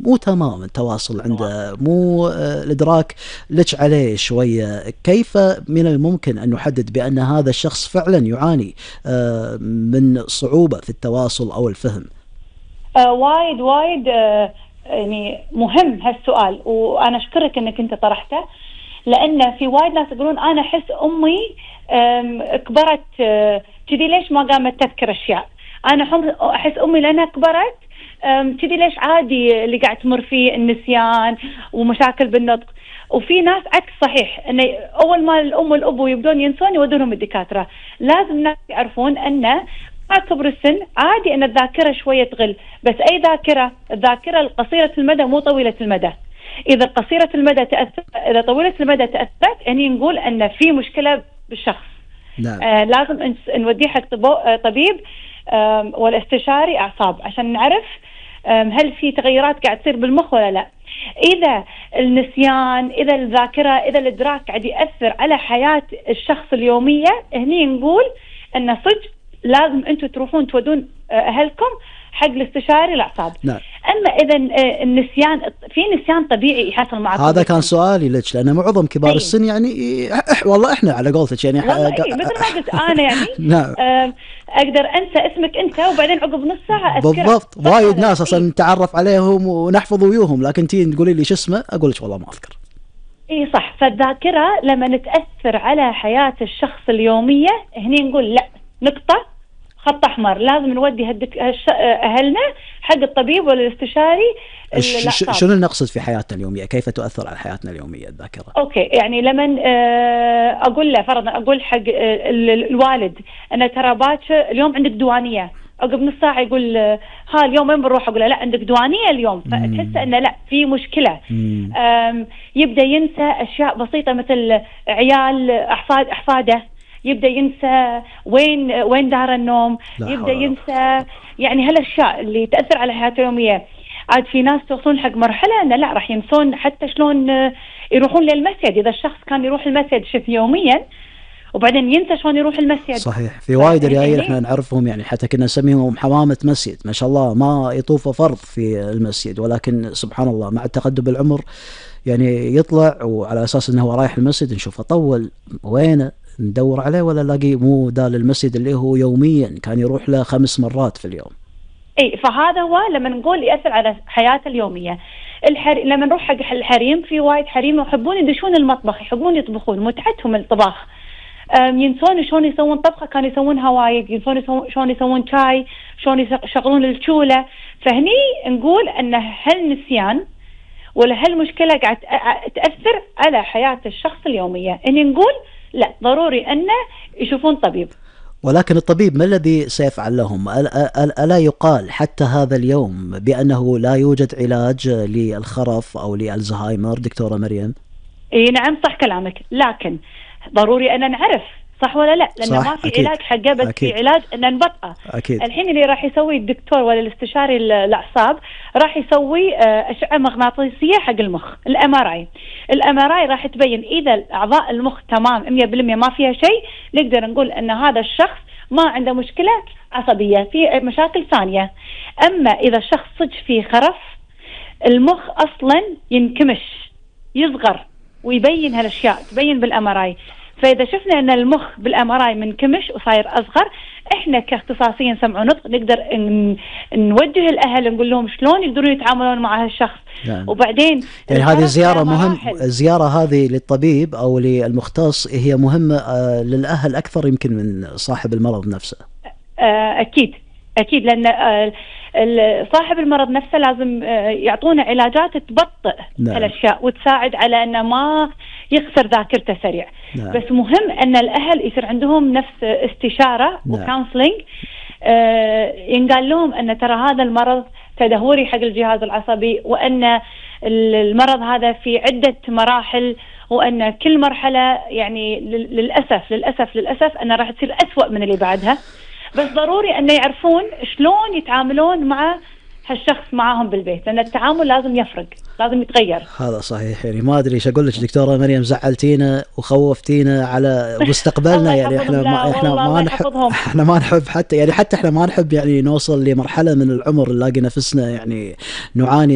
مو تمام التواصل عنده، مو الإدراك لج عليه شوية. كيف من الممكن أن نحدد بأن هذا الشخص فعلا يعاني من صعوبة في التواصل أو الفهم؟ وايد وايد يعني مهم هالسؤال، وأنا أشكرك أنك أنت طرحته، لأن في وايد ناس يقولون أنا أحس أمي كبرت كذي، ليش ما قامت تذكر أشياء؟ أنا أحس أمي لأنها كبرت كذي، ليش عادي اللي قاعد تمر فيه النسيان ومشاكل بالنطق. وفي ناس عكس صحيح، أن أول ما الأم والأبو يبدون ينسون يودونهم الدكاترة. لازم الناس يعرفون أن مع كبر السن عادي أن الذاكرة شوية تغل، بس أي ذاكرة؟ الذاكرة القصيرة المدى مو طويلة المدى. إذا قصيرة المدى تأثر، إذا طويلة المدى تأثرت، يعني نقول أن في مشكلة بالشخص. نعم. لازم نوديه حق طبيب والاستشاري أعصاب عشان نعرف هل في تغيرات قاعد تصير بالمخ ولا لا. إذا النسيان، إذا الذاكرة، إذا الإدراك قاعد يأثر على حياة الشخص اليومية، هني نقول أن صدق لازم أنتوا تروحون تودون أهلكم حق الاستشاري الأعصاب. نعم. أما إذا النسيان، في نسيان طبيعي يحصل معكم. هذا كان سؤالي لك، لأن معظم كبار السن يعني والله إحنا على قولتك يعني مثل ما قلت أنا يعني نعم. أقدر أنسى اسمك أنت وبعدين عقب نص ساعة أذكره. بالضبط. وايد ناس أصلا نتعرف عليهم ونحفظ ويوهم، لكن تيجي تقولي لي شو اسمه أقول لك والله ما أذكر. إيه صح. فالذاكرة لما نتأثر على حياة الشخص اليومية، هني نقول لا، نقطة، خط أحمر، لازم نودي أهلنا حق الطبيب ولا الاستشاري الأعصاب. شنو نقصد في حياتنا اليومية؟ كيف تؤثر على حياتنا اليومية الذاكرة؟ أوكي، يعني لما أقول له فرضا، أقول حق الوالد أنا ترى باكر اليوم عندك دوانية، عقب نص ساعة يقول ها اليوم وين بنروح؟ أقول له لا عندك دوانية اليوم. فتحس أنه لا، في مشكلة. يبدأ ينسى أشياء بسيطة مثل عيال أحفاده، يبدأ ينسى وين دار النوم، يبدأ ينسى يعني هالأشياء اللي تأثر على حياته اليومية. عاد في ناس توصلون حق مرحلة أن لا، راح ينسون حتى شلون يروحون للمسجد. إذا الشخص كان يروح المسجد شف يوميا وبعدين ينسى شلون يروح المسجد. صحيح. في وايد رجال احنا نعرفهم يعني حتى كنا نسميهم حمامة مسجد، ما شاء الله ما يطوف فرض في المسجد، ولكن سبحان الله مع التقدم بالعمر يعني يطلع وعلى أساس أنه هو رايح المسجد نشوفه طول، وينه ندور عليه ولا نلاقيه مو دال المسجد اللي هو يوميا كان يروح له 5 مرات في اليوم. اي، فهذا هو لما نقول يأثر على حياته اليومية. لما نروح حق الحريم، في وايد حريم يحبون يدشون المطبخ، يحبون يطبخون، متعتهم الطباخ. ينسون شلون يسوون طبخة كانوا يسوونها وايد، ينسون شلون يسوون شاي، شلون يشغلون الشولة. فهني نقول ان هالنسيان ولا هالمشكلة قاعد تأثر على حياة الشخص اليومية. هني نقول لا، ضروري أنه يشوفون طبيب. ولكن الطبيب ما الذي سيفعل لهم؟ ألا يقال حتى هذا اليوم بأنه لا يوجد علاج للخرف أو لألزهايمر دكتورة مريم؟ إيه نعم صح كلامك، لكن ضروري أن نعرف صح ولا لا، لأنه ما في أكيد. علاج حقه، بس أكيد. في علاج أن نبطئه. الحين اللي راح يسوي الدكتور ولا الاستشاري الأعصاب راح يسوي أشعة مغناطيسية حق المخ، الMRI راح تبين إذا أعضاء المخ تمام 100% ما فيها شيء، نقدر نقول أن هذا الشخص ما عنده مشكلة عصبية، في مشاكل ثانية. أما إذا الشخص صدق فيه خرف، المخ أصلا ينكمش، يصغر، ويبين هالأشياء تبين بالMRI. فإذا شفنا أن المخ بالMRI منكمش وصاير أصغر، إحنا كاختصاصيين سمع ونطق نقدر نوجه الأهل نقول لهم شلون يقدرون يتعاملون مع هالشخص. يعني. وبعدين يعني هذه زيارة الزيارة هذه للطبيب أو للمختص هي مهمة للأهل أكثر يمكن من صاحب المرض نفسه. أكيد لأن صاحب المرض نفسه لازم يعطونا علاجات تبطئ هالأشياء وتساعد على أنه ما يخسر ذاكرته سريع. بس مهم أن الأهل يصير عندهم نفس استشارة وكونسلينج، ينقال لهم أن ترى هذا المرض تدهوري حق الجهاز العصبي، وأن المرض هذا في عدة مراحل، وأن كل مرحلة يعني للأسف أنها راح تصير أسوأ من اللي بعدها. بس ضروري أن يعرفون شلون يتعاملون مع هالشخص معاهم بالبيت، لأن التعامل لازم يفرق، لازم يتغير. هذا صحيح. يعني ما أدري إيش أقول لك دكتورة مريم، زعلتينا وخوفتينا على مستقبلنا. يعني إحنا ما نحب حتى إحنا ما نحب يعني نوصل لمرحلة من العمر نلاقي نفسنا يعني نعاني